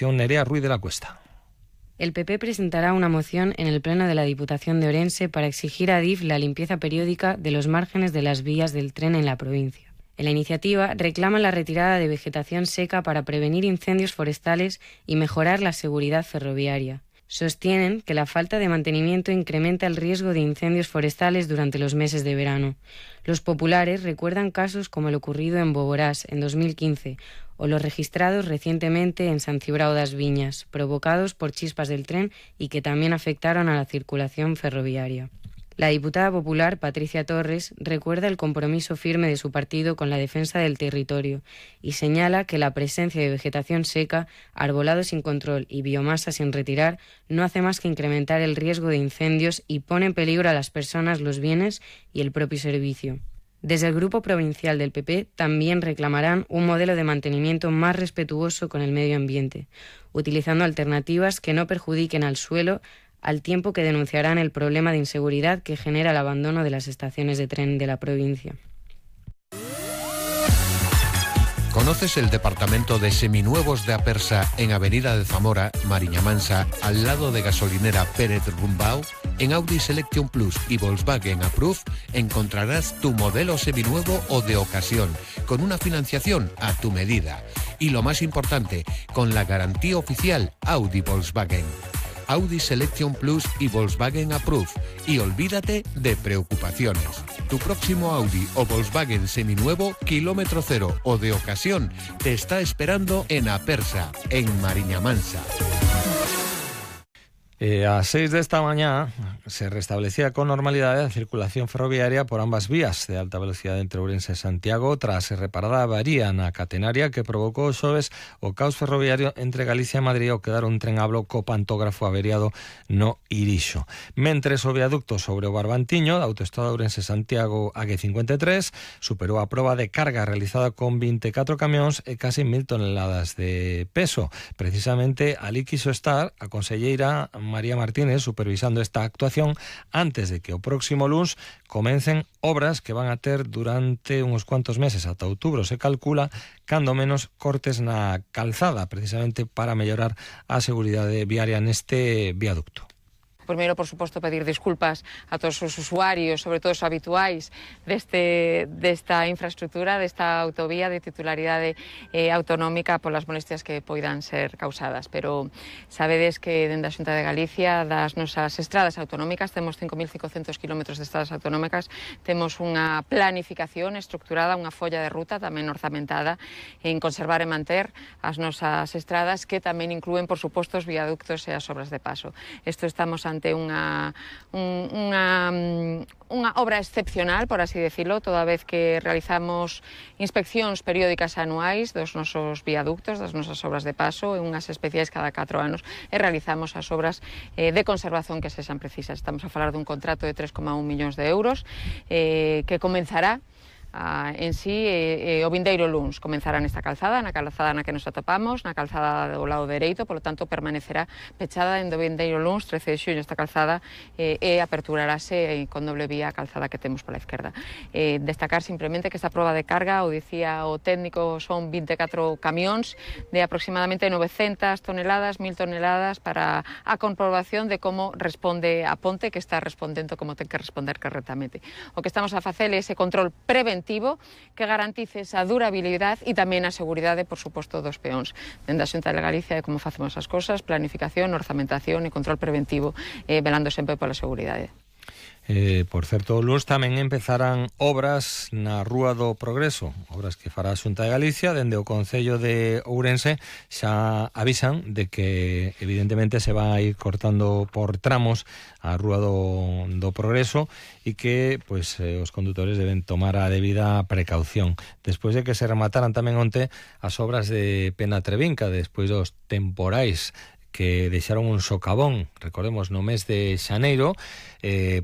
Nerea Ruiz de la Cuesta. El PP presentará una moción en el Pleno de la Diputación de Orense para exigir a Adif la limpieza periódica de los márgenes de las vías del tren en la provincia. En la iniciativa reclaman la retirada de vegetación seca para prevenir incendios forestales y mejorar la seguridad ferroviaria. Sostienen que la falta de mantenimiento incrementa el riesgo de incendios forestales durante los meses de verano. Los populares recuerdan casos como el ocurrido en Boborás en 2015 o los registrados recientemente en Sant Cibrao das Viñas, provocados por chispas del tren y que también afectaron a la circulación ferroviaria. La diputada popular Patricia Torres recuerda el compromiso firme de su partido con la defensa del territorio y señala que la presencia de vegetación seca, arbolado sin control y biomasa sin retirar no hace más que incrementar el riesgo de incendios y pone en peligro a las personas, los bienes y el propio servicio. Desde el Grupo Provincial del PP también reclamarán un modelo de mantenimiento más respetuoso con el medio ambiente, utilizando alternativas que no perjudiquen al suelo, al tiempo que denunciarán el problema de inseguridad que genera el abandono de las estaciones de tren de la provincia. ¿Conoces el departamento de seminuevos de Apersa en Avenida de Zamora, Mariña Mansa, al lado de gasolinera Pérez Rumbao? En Audi Selection Plus y Volkswagen Approve encontrarás tu modelo seminuevo o de ocasión, con una financiación a tu medida. Y lo más importante, con la garantía oficial Audi Volkswagen. Audi Selection Plus y Volkswagen Approve. Y olvídate de preocupaciones. Tu próximo Audi o Volkswagen seminuevo, kilómetro cero o de ocasión, te está esperando en Apersa, en Mariña Mansa. A 6 de esta mañana se restablecía con normalidad la circulación ferroviaria por ambas vías de alta velocidad entre Ourense e Santiago tras reparada a avaría na catenaria que provocou xoves o caos ferroviario entre Galicia e Madrid ao quedar un tren a bloco pantógrafo averiado no Irixo. Mentres o viaducto sobre o Barbantiño da autoestrada Ourense-Santiago AG53 superou a proba de carga realizada con 24 camións e casi 1000 toneladas de peso. Precisamente ali quiso estar a conselleira María Martínez supervisando esta actuación antes de que o próximo luns comecen obras que van a ter durante uns cuantos meses, ata outubro se calcula, cando menos cortes na calzada, precisamente para mellorar a seguridade viaria neste viaducto. Primeiro, por suposto, pedir disculpas a todos os usuarios, sobre todo os habituais desta infraestructura, desta autovía de titularidade autonómica polas molestias que poidan ser causadas. Pero sabedes que dende a Xunta de Galicia, das nosas estradas autonómicas, temos 5.500 km de estradas autonómicas, temos unha planificación estructurada, unha folla de ruta tamén orzamentada en conservar e manter as nosas estradas, que tamén inclúen, por suposto, os viaductos e as obras de paso. Isto estamos ante unha obra excepcional, por así decirlo, toda vez que realizamos inspeccións periódicas anuais dos nosos viaductos, das nosas obras de paso, e unhas especiais cada 4 anos, e realizamos as obras de conservación que sexan precisas. Estamos a falar dun contrato de 3,1 millóns de euros que comenzará en sí o vindeiro luns. Comenzará nesta calzada, na calzada na que nos atopamos, na calzada do lado dereito, polo tanto permanecerá pechada en do vindeiro luns, 13 de xuño, esta calzada e aperturarase con doble vía a calzada que temos pola esquerda. Destacar simplemente que esta proba de carga, o dicía o técnico, son 24 camións de aproximadamente 900 toneladas, 1000 toneladas para a comprobación de como responde a ponte, que está respondendo como ten que responder correctamente. O que estamos a facer é ese control preventivo que garantice esa durabilidade e tamén a seguridade, por suposto, dos peóns. Dende a Xunta de Galicia é como facemos as cosas: planificación, orzamentación e control preventivo, velando sempre pola seguridade. Por certo, o luns tamén empezarán obras na Rúa do Progreso, obras que fará a Xunta de Galicia. Dende o Concello de Ourense xa avisan de que evidentemente se va a ir cortando por tramos a Rúa do Progreso e que pois os condutores deben tomar a debida precaución. Despois de que se remataran tamén onte as obras de Penatrevinca, despois dos temporais que deixaron un socavón, recordemos, no mes de xaneiro,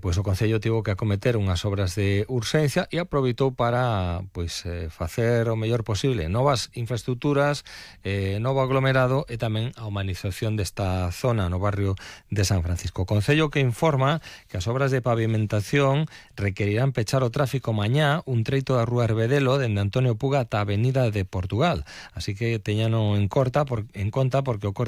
pois o Concello tivo que acometer unhas obras de urxencia e aproveitou para facer o mellor posible novas infraestructuras, novo aglomerado e tamén a humanización desta zona no barrio de San Francisco. O Concello que informa que as obras de pavimentación requerirán pechar o tráfico mañá un treito da Rúa Herbedelo dende Antonio Puga ata a Avenida de Portugal, así que teñano en conta porque o corte